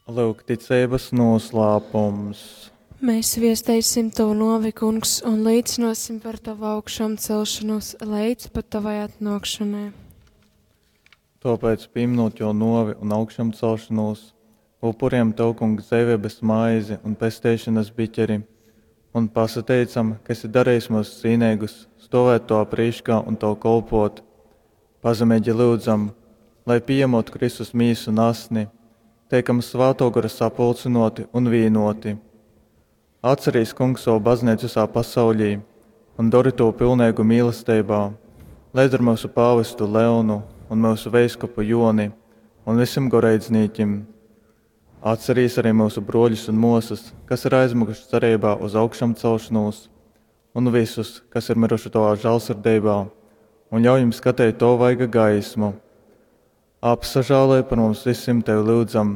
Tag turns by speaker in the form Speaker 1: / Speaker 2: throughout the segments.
Speaker 1: Lūk, ticeibas noslēpums.
Speaker 2: Mēs viesteisim tavu novi, kungs, un līdzināsim par tavu augšām celšanos līdz pat tavai atnākšanai.
Speaker 1: Tāpēc, pieminot jo novi un augšām celšanos, upuriem tev, kungs, dzīvības maizi un pesteišanas biķeri, un pasateicam, ka esi darījis mūs cīnīgus, stovēt to prīškā un tev kolpot. Pazemīgi lūdzam, lai pieņemot Kristus mīsu un asni, teikam svēto gara sapulcinoti un vīnoti. Atcerīs, kungs, savu baznīcu visā pasaulī un dori to pilnīgu mīlestībā, līdz ar mūsu pāvestu Leonu un mūsu veiskupu Joni un visiem goreidznīkim. Atcerīs arī mūsu broļus un mosas, kas ir aizmukuši cerībā uz augšām celšanos, un visus, kas ir miruši tavā žēlsirdībā, un ļauj jums skatīt to vaiga gaismu. Apsažālē par mums visiem tevi lūdzam,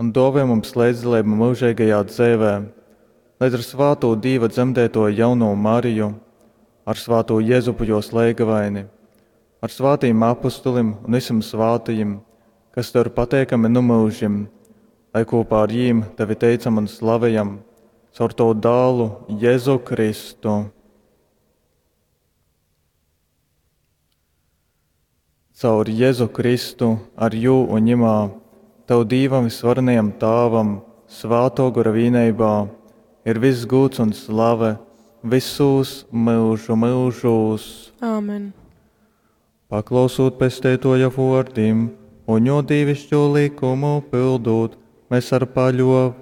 Speaker 1: un dāvā mums līdzdalību mūžīgajā dzīvē, līdz ar svāto Dīva dzemdēto jauno Mariju, ar svāto Jēzupu jos leigavaini, ar svātīm apustulim un visiem svātajiem, kas tev ir pateikami nu mūžim, lai kopā ar jīm tevi teicam un slavējam, caur tavu dālu Jēzu Kristu. Caur Jēzu Kristu, ar jū un ņemā, tev Dīvam visvarenajam Tāvam, svāto gora vīneibā, ir viss gūts un slave visūs mūžu mūžūs.
Speaker 2: Āmen.
Speaker 1: Paklausūt pesteitoja vōrdim un jo dīvišķo likumu pildūt, mēs ar paļoveibu.